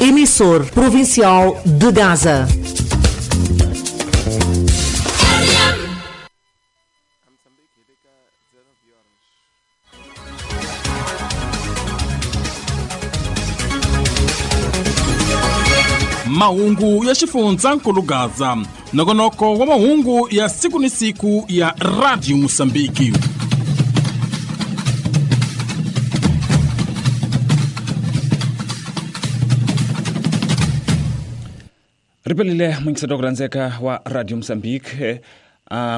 Emissor provincial de Gaza. Mahungu ya xifundzankulu Gaza, nongonoko wa mahungu ya siku ni siku ya Radio Mosambiki. Ripelile mwingiselo ku rhandzeka wa Radio Mozambique.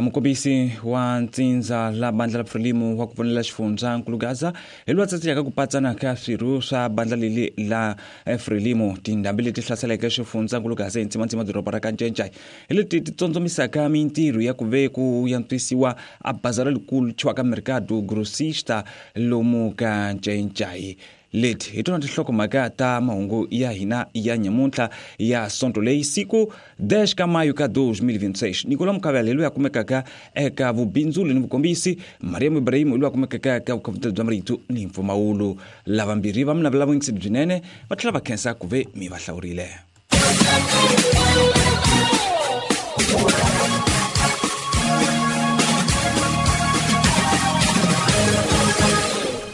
Mukombisi wa ntsindza la bandla la Frelimo wa ku pfunela xifundzankulu Gaza hi loyi a tsatsiyaka ku patsana ka swirho swa bandla leli la Frelimo. Tindhambi leti hlaseleke xifundzankulu Gaza hi ntsimantsima doroba ra Kancencai hi leti ti tsondzomisaka mintirho ya ku ve ku yantswisiwa a bazara likulu thyiwaka Mercado Grossista lomu ka Ncencai. Leti hi tona tinhlokomhaka ta mahungu ya hina ya nyamuntlha ya sonto leyi siku 10 ka mayo ka 2026. Nicolas Mukavela hi loyi a kumekaka eka vubindzuli ni vukombisi, Mariam Ibrahim hi loyi a kumekaka eka vukhongeri bya marito ni mpfumawulo. Lavambirhi va mi navela vuyingiseri byinene va tlhela va khensa ku ve mi va hlawurile.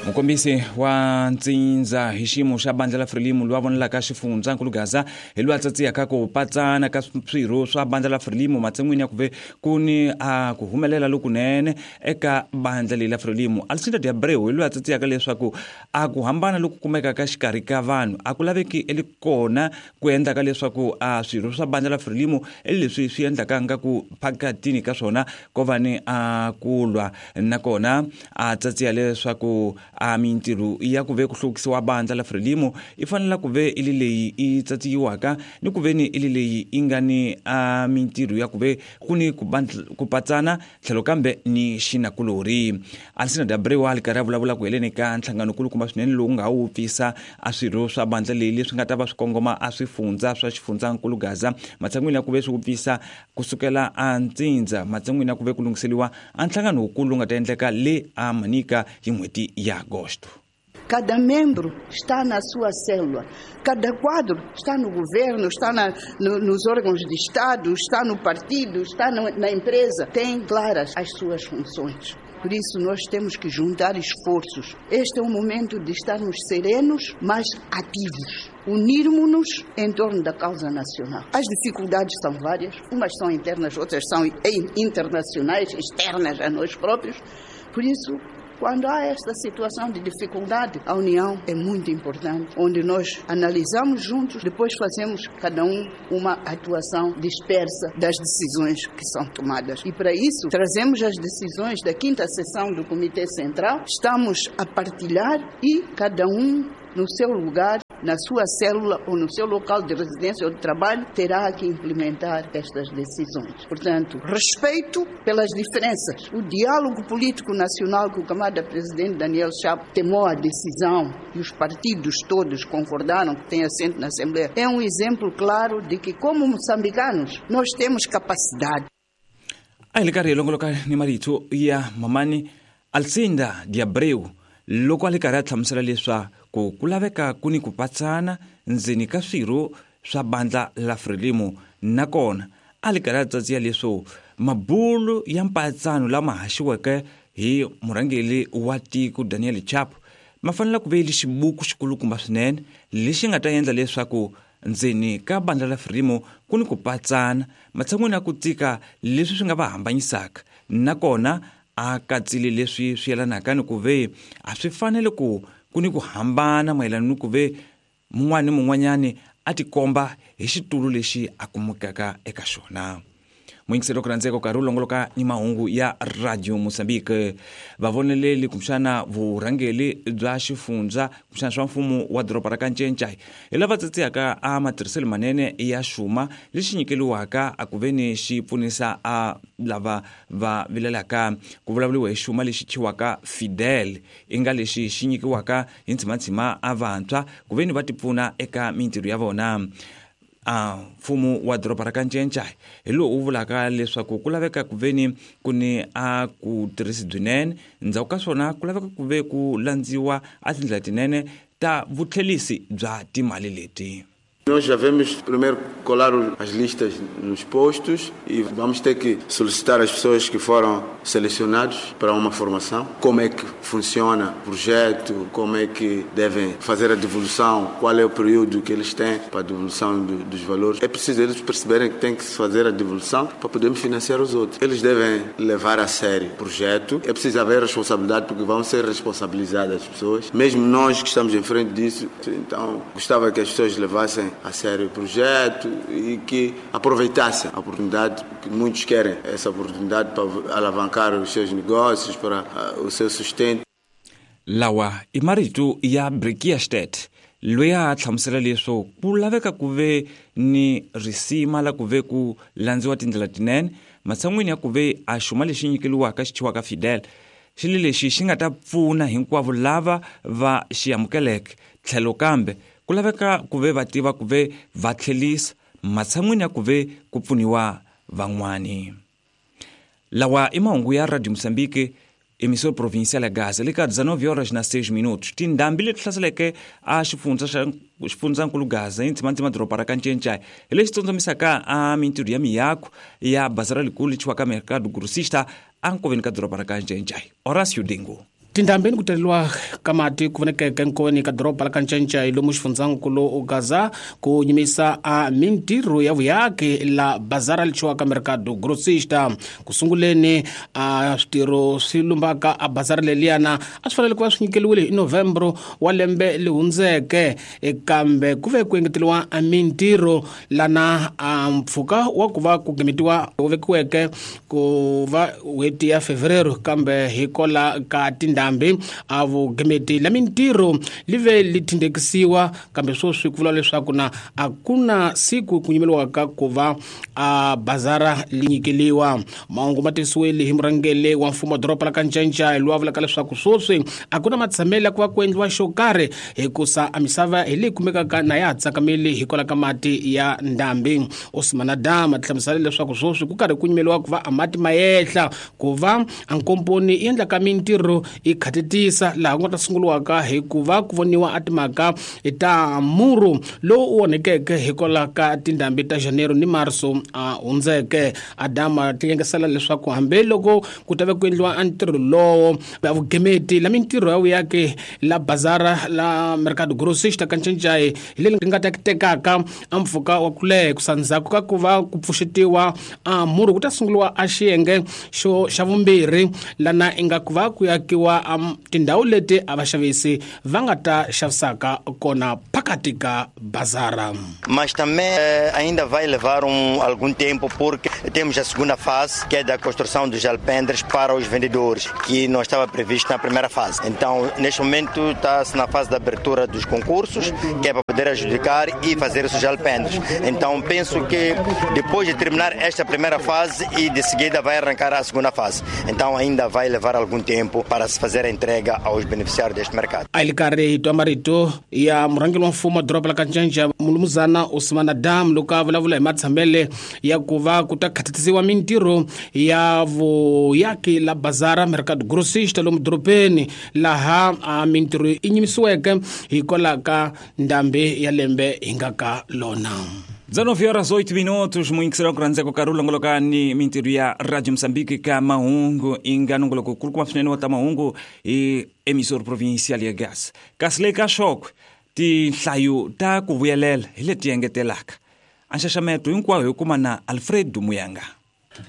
Mukombisi wa ntsindza hi xiyimo xa bandla la Frelimo loyi a vonelaka xifundzankulu Gaza hi loyi a tsatsiyaka ku patsana ka swirho swa bandla la Frelimo matshan'wini ya ku ve ku ni a ku humelela lokunene eka bandla leyi la Frelimo. Alcinda de Abreu hi loyi a tsatsiyaka leswaku a ku hambana loku kumekaka xikarhi ka vanhu a ku laveki eli kona ku endlaka leswaku a swirho swa bandla la Frelimo leswi swi endlaka nga ku phakatini ka swona ko va ni a ku lwa. Nakona a tsatsiya leswaku a mintirho ya ku ve ku hluvukisiwa bandla la Frelimo i fanela ku ve i li leyi i tsatsiyiwaka ni ku ve ni i li leyi i nga ni a mintirho ya ku ve ku ni ku patsana tlhelo kambe ni xinakulorhi. Alcinda de Abreu a li karhi a vulavula ku heleni ka nhlangano kulukumba swinene lowu nga wu pfisa a swirho swa bandla leyi leswi nga ta va swi kongoma a swifundza swa xifundzankulu Gaza matshan'wini ya ku ve swi wu pfisa kusukela a ntsindza matshan'wini ya ku ve ku lunghiseliwa a nhlangano wukulu lowu nga ta endleka le a Manica hi n'hweti ya Agosto. Cada membro está na sua célula, cada quadro está no governo, está nos órgãos de Estado, está no partido, está na empresa, tem claras as suas funções. Por isso nós temos que juntar esforços. Este é o momento de estarmos serenos, mas ativos. Unirmos-nos em torno da causa nacional. As dificuldades são várias, umas são internas, outras são internacionais, externas a nós próprios. Por isso, quando há esta situação de dificuldade, a união é muito importante, onde nós analisamos juntos, depois fazemos cada um uma atuação dispersa das decisões que são tomadas. E para isso, trazemos as decisões da 5ª sessão do Comitê Central, estamos a partilhar e cada um no seu lugar, na sua célula ou no seu local de residência ou de trabalho, terá que implementar estas decisões. Portanto, respeito pelas diferenças. O diálogo político nacional que o camarada presidente Daniel Chapo tomou a decisão e os partidos todos concordaram que tem assento na Assembleia, é um exemplo claro de que, como moçambicanos, nós temos capacidade. A hi le karhi hi longoloka ni marito ya mamani Alcinda de Abreu loko a le karhi a hlamusela leswaku ku laveka ku ni ku patsana ndzeni ka swirho swa bandla la Frelimo. Nakona a le karhi a tsatsiya leswo mabulu ya mpatsano lama haxiweke hi murhangeri wa tiko Daniel Chapo ma fanele ku ve li xibuku xikulukumba swinene lexi nga ta endla leswaku ndzeni ka bandla la Frelimo ku ni ku patsana matshan'wini ya ku tika leswi swi nga va hambanyisaka. Nakona a katsile leswi swi yelanaka ni ku ve a swi fanele ku ku ni ku hambana mayelana ni ku ve mun'wana ni mun'wanyani a tikomba hi xitulu lexi a kumekaka eka xona. Muyingiseri ku rhandzeka karhi wu longoloka ni mahungu ya Radio Mozambique. Vavoneleli kumbexana vurhangeri bya xifundza kumbexana swa mfumo wa doroba ra Kancencai hi lava tsatsiyaka a matirhiselo manene ya xuma lexi nyikeliwaka a ku ve ni xi pfunisa a lava va vilelaka. Ku vulavuriwa hi xuma lexi thyiwaka Fidel, i nga lexi xi nyikiwaka hi ntshimantsima a vantshwa ku ve ni va tipfuna eka mintirho ya vona. A mfumo wa doroba ra Kancencai hi lowu wu vulaka leswaku ku laveka ku ve ni ku ni a ku tirhisi byinene, ndzhaku ka swona ku laveka ku ve ku landziwa a tindlela tinene ta vutlhelisi bya timali leti. Nós já vamos primeiro colar as listas nos postos e vamos ter que solicitar as pessoas que foram selecionadas para uma formação, como é que funciona o projeto, como é que devem fazer a devolução, qual é o período que eles têm para a devolução dos valores. É preciso eles perceberem que tem que se fazer a devolução para podermos financiar os outros. Eles devem levar a sério o projeto. É preciso haver responsabilidade, porque vão ser responsabilizadas as pessoas, mesmo nós que estamos em frente disso. Então, gostava que as pessoas levassem a sério o projeto e que aproveitassem a oportunidade, que muitos querem essa oportunidade para alavancar os seus negócios, para o seu sustento. Lawa i marito ya Brikiastet loyi a hlamusela leswo ku laveka ku ve ni risima la ku ve ku landziwa tindlela tinene matshan'wini ya ku ve a xuma lexi nyikeliwaka xi thyiwaka Fidel xilo lexi xi nga ta pfuna hinkwavo lava va xi amukeleke tlhelo kambe ku laveka ku ve va tiva ku ve va tlhelisa matshan'wini ya ku ve ku pfuniwa van'wani. Lawa i mahungu ya Radio Mozambique, emissora provincial ya Gaza, le ka 19:06. Tindhambi leti hlaseleke a xifundzankulu Gaza hi ndzimandzima doroba ra Kancencai hi lexi tsondzamisaka a mintirho ya miako ya bazara likulu lechiwaka Mercado Grossista a nkoveni ka doroba ra Kancencai. Horacio Dengo. Tindhambeni ku taleriwa ka mati ku vonekeke nkoveni ka doroba la Kancencai lomu xifundzankulu Gaza ku nyimisa a mintirho ya vuyaki la bazara lichiwaka Mercado Grossista. Ku sunguleni a switirho swi lumbaka a bazara leliyana a swi fanele ku va swi nyikeliwile hi Novembro wa lembe li hundzeke, kambe ku ve ku engeteriwa a mintirho lana a mpfhuka wa ku va ku gimetiwa wu vekiweke ku va n'hweti ya Fevereiro, kambe hikola ka tindhambi a vugimeti la mintirho li ve li tindekisiwa, kambe sweswi ku vula leswaku na a ku na siku ku nyimeliwaka ku va a bazara li nyikeliwa. Mahungu ma tivisiwile hi murhangeri wa mfumo wa doroba la Kancencai loyi a vulaka leswaku sweswi a ku na matshamelo ya ku va ku endliwa xo karhi hikusa a misava hi leyi kumekaka na ya ha tsakameli hikwalaho ka mati ya ndhambi. Osman Adam a hlamusela leswaku sweswi ku karhi ku nyimeliwa ku va a mati ma yehla ku va a nkomponi yi endlaka mintirho yi khatetisa laha ku nga ta sunguriwaka hikuva ku voniwa a timhaka ta muru lowu wu onhekeke hikwalaho ka tindhambi ta Janeiro ni Marso a hundzeke. Adama tiyengesela leswaku hambiloko ku ta ve ku endliwa a ntirho lowo ya vugemeti la mintirho ya vuyaki la bazara la Mercado Grossista Kancencai hi leri nga ta tekaka a mpfhuka wa ku leha ku sandzhaku ka ku va ku pfuxetiwa a muru ku ta sunguriwa a xiyenge xo xa vumbirhi lana inga ku va ku yakiwa tindhawu leti a vaxavisi va nga ta xavisaka kona phakathi ka bazara. Mas também ainda vai levar algum tempo, porque temos a segunda fase, que é da construção dos alpendres para os vendedores, que não estava previsto na primeira fase. Então, neste momento, está-se na fase da abertura dos concursos, que é para poder adjudicar e fazer esses alpendres. Então, penso que depois de terminar esta primeira fase e de seguida vai arrancar a segunda fase. Então, ainda vai levar algum tempo para se fazer a entrega aos beneficiários deste mercado. A li karhi hi twa marito ya murhangeri wa mfumo wa doroba la Kancencai mulumuzana Osman Adam loko a vulavula hi matshamele ya ku va ku ta khatetisiwa mintirho ya vuyaki la bazara Mercado Grossista lomu dorobeni laha a mintirho yi nyimisiweke hikwalaho ka ndhambi ya lembe hi nga ka lona. 19:08 muingisela ku rhandzeko ka rulongolokani mintirho ya Radio Mozambique ka mahungu inga nongoloko kulukuma swinene wa ta mahungu hi emissora provincial ya Gaza. Kasi le ka Xokwe tinhlayo ta ku vuyelela hi leti engetelaka. A nxaxameto hinkwawo hi kuma na Alfredo Muyanga.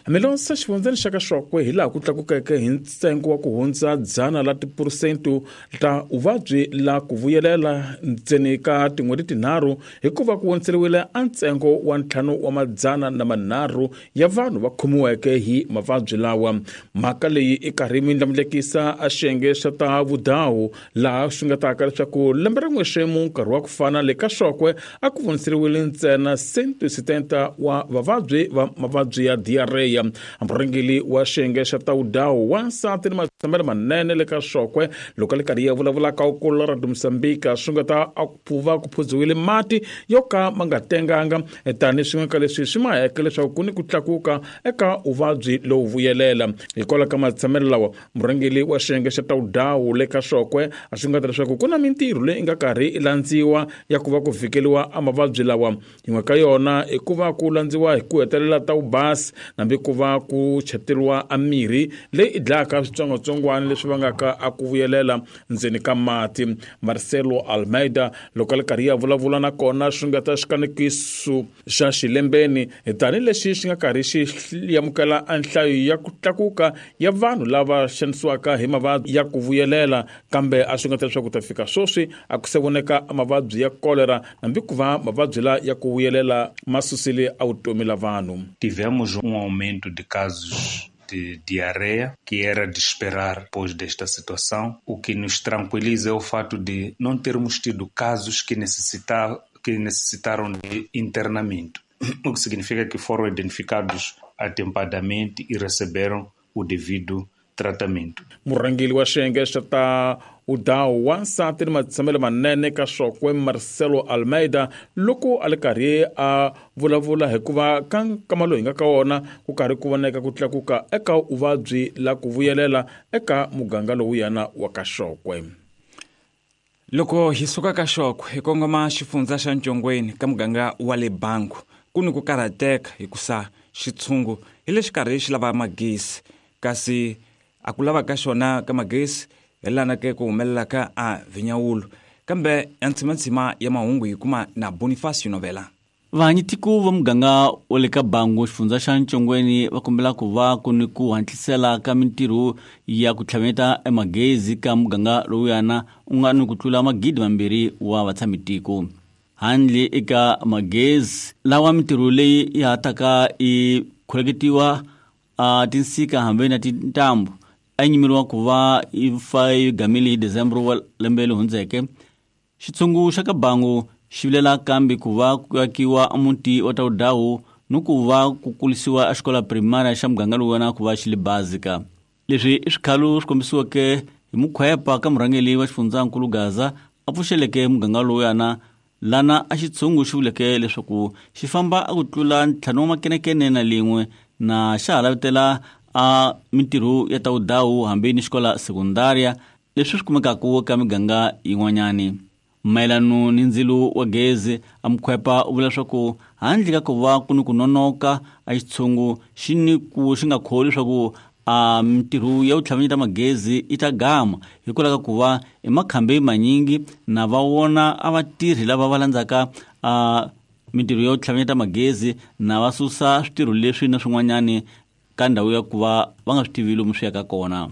Hambiloko xifundzeni xa ka Xokwe hi laha ku tlakukeke hi ntsengo wa ku hundza 100 la tiphurosente ta vuvabyi la ku vuyelela ntseni ka tin'hweti tinharhu hikuva ku voniseriwile a ntsengo wa 503 ya vanhu va khomiweke hi mavabyi lawa. Mhaka leyi i karhi mi ndlandlamukisa a xiyenge xa ta vudawu laha swi nga taka leswaku lembe rin'we xemu nkarhi wa ku fana le ka Xokwe a ku voniseriwile ntsena 170 wa vavabyi va mavabyi ya diarrhea. Correia. Murhangeri wa xiyenge xa Tawudawu wansati ni matshamelo manene le ka Xokwe loko a le karhi ya vulavula ka ukulu ra Mozambique swi nga ta a ku va ku phuziwile mati yo ka ma nga tenganga tani swin'we ka leswi swi maheke leswaku ku ni ku tlakuka eka vuvabyi lowu vuyelela. Hikwalaho ka matshamelo lawa, murhangeri wa xiyenge xa Tawudawu le ka Xokwe a swi nga ta leswaku ku na mintirho leyi nga karhi yi landziwa ya ku va ku vhikeliwa a mavabyi lawa. Yin'we ka yona i ku va ku landziwa hi ku hetelela ta vubasi nambi ku va ku cheteriwa a mirhi leyi i dlayaka switsongwatsongwana leswi vangaka a ku vuyelela ndzeni ka mati. Marcelo Almeida loko a le karhi ya vulavula na kona swi nga ta xikanekiso xa xilembeni tanihilexi xi nga karhi xi amukela a nhlayo ya ku tlakuka ya vanhu lava xanisiwaka hi mavabyi ya ku vuyelela, kambe a swi nga ta leswaku ta fika sweswi a ku se voneka mavabyi ya kolera hambi ku va mavabyi la ya ku vuyelela ma susile a vutomi la vanhu. Tivemos aumento de casos de diarreia, que era de esperar depois desta situação. O que nos tranquiliza é o fato de não termos tido casos que necessitaram de internamento, o que significa que foram identificados atempadamente e receberam o devido tratamento. Murhangeri wa xiyenge xa ta udawu wansati ni matshamelo manene ka Xokwe Marcelo Almeida loko a le karhi a vulavula hikuva ka nkama lowu hi nga ka wona ku karhi ku voneka ku tlakuka eka vuvabyi la ku vuyelela eka muganga lowuyana wa ka Xokwe. Loko hi suka ka Xokwe hi kongoma xifundza xa Ntshongweni ka muganga wa le Bangu, ku ni ku karhateka hikusa xitshungu hi le xikarhi xi lava magesi, kasi a ku lava ka xona ka magesi hi lana ke ku humelela ka a vinyawulo. Kambe ya ntsimantsima ya mahungu hi kuma na Bonifacio Novela. Vahanyitiko va muganga wa le ka Bangu xifundza xa Ntshongweni va kombela ku va ku ni ku hatlisela ka mintirho ya ku tlhaveta emagezi ka muganga lowuyana u nga ni ku tlula 2,000 wa vatshamitiko. Handle eka magezi lawa mintirho leyi ya hataka i kholeketiwa a tinsika hambi na tintambu a nyimeriwa ku va yi fa yi gamile hi December wa lembe leri hundzeke. Xitshungu xa ka Bangu xi vilela kambe ku va ku akiwa muti wa Tawudawu ni ku va ku kulisiwa a xikola primary xa muganga lowuwena ku va xi le bazika. Leswi i swikhalo swi kombisiweke hi mukhwepa ka murhangeri wa xifundzankulu Gaza a pfuxeleke muganga lowuyana lana a xitshungu xi vuleke leswaku xi famba a ku tlula 5 na na xa ha lavetela a mintirho ya Tawudawu hambi ni xikola sekundaria leswi swi kumekaka ka miganga yin'wanyani. Mayelano ni ndzilo wa gezi a mukhwepa u vula leswaku handle ka ku va ku ni ku nonoka a xitshungu xi ni ku xi nga kholi leswaku a mintirho ya ku tlhavanyeta magezi yi ta gama hikwalaho ka ku va i makhambi manyingi na va wona a vatirhi lava va landzaka a mintirho ya ku tlhavanyeta magezi na va susa switirho leswi na swin'wanyani ka ndhawu ya ku va va nga swi tivi lomu swi yaka kona.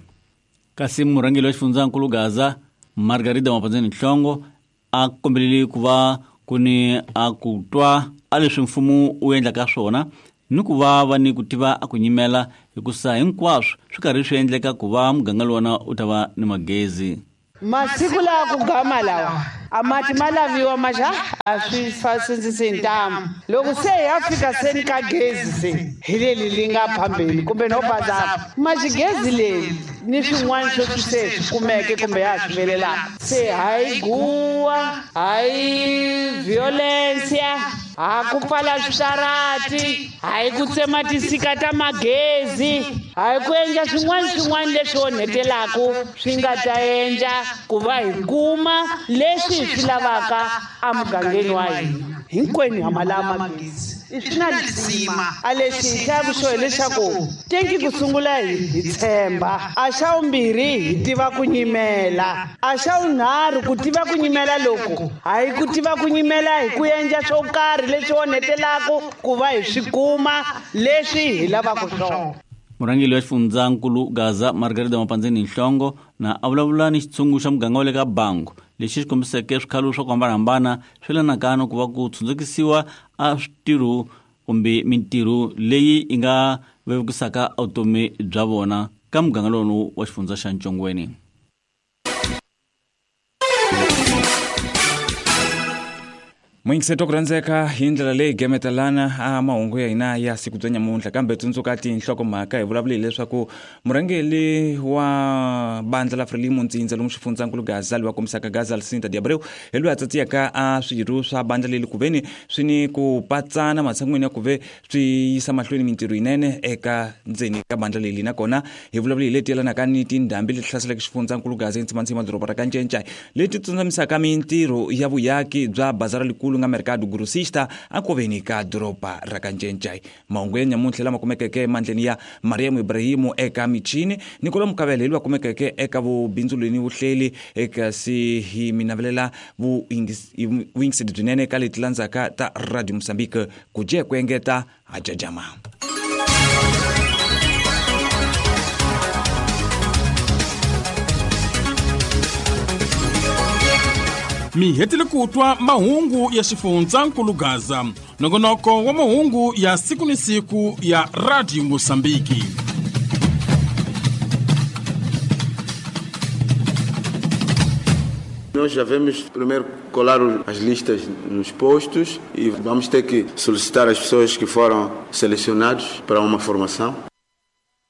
Kasi murhangeri wa xifundzankulu Gaza Margarida Mapandzeni Nhlongo a kombelele ku va ku ni a ku twa a leswi mfumo wu endlaka swona ni ku va va ni ku tiva a ku nyimela hikusa hinkwaswo swi karhi swi endleka ku va muganga lowona u ta va ni magezi. Masiku lawa ku gama lawa a mati ma laviwa maxa a swi fasindzisi ntamu loko se ya fika seni ka gezi se hi leli li nga phambeni kumbe no bazapa maxigezi leri ni swin'wana sweswi se swi kumeke kumbe ya swi velelaka se hayi guwa hayi violencia ha ku pfala switarati hayi ku tsema tinsika ta magezi hayi ku endla swin'wana swin'wana leswi onhetelaku swi nga ta endla ku va hi kuma leswi hi swi lavaka emugangeni wa hina. Hinkwenu ha ma lava magezi i swi na lisima a lexi hi hlayaku xo hileswaku tenki ku sungula hi tshemba a xa vumbirhi hi tiva ku nyimela a xa vunharhu ku tiva ku nyimela loku hayi ku tiva ku nyimela hi ku endla swo karhi leswi onhetelaku ku va hi swi kuma leswi hi lavaka swona. Murhangeri wa xifundzankulu Gaza Margarida Mapandzeni Nhlongo na a vulavula ni xitshungu xa muganga wa le ka Bangu lexi xi kombiseke swikhalo swa ku hambanahambana swi yelanaka na ku va ku tshundzekisiwa a switirho kumbe mintirho leyi yi nga vevukisaka vutomi bya vona ka muganga lowu wa xifundza xa Ntshongweni. Muyingiseti wa ku rhandzeka, hi ndlela leyi gemetelana a mahungu ya hina ya siku bya nyamuntlha, kambe tsundzuka tinhlokomhaka. Hi vulavule hileswaku murhangeri wa bandla la Frelimo ntsindza lomu xifundzankulu Gaza, loyi a kombisaka Gaza Alcinda de Abreu, hi loyi a tsatsiyaka a swirho swa bandla leri ku veni swi ni ku patsana matshan'wini ya ku ve swi yisa mahlweni mintirho yinene eka ndzeni ka bandla leri. Nakona hi vulavule hi leti yelanaka ni tindhambi leti hlaseleke xifundzankulu Gaza entshimantsima doroba ra Kancencai, leti tsundzamisaka mintirho ya vuyaki bya bazara likulu nga Mercado Grossista akoveni ka doroba ra Kancencai. Mahungu ya nyamuntlha lama kumekeke emandleni ya Mariam Ibrahimu eka michini, Nikola Mukavele hi loyi a kumekeke eka vubindzulweni vuhleli, kasi hi mi navelela vuyingiseli byinene eka leti landzaka ta Radio Mozambique. Ku dye ku engeta hajajama. Mi hetile ku twa mahungu ya xifundzankulu Gaza, nongonoko wa mahungu ya siku ni siku ya Radio Mosambiki. Nós já vamos primeiro colar as listas nos postos e vamos ter que solicitar as pessoas que foram selecionadas para uma formação.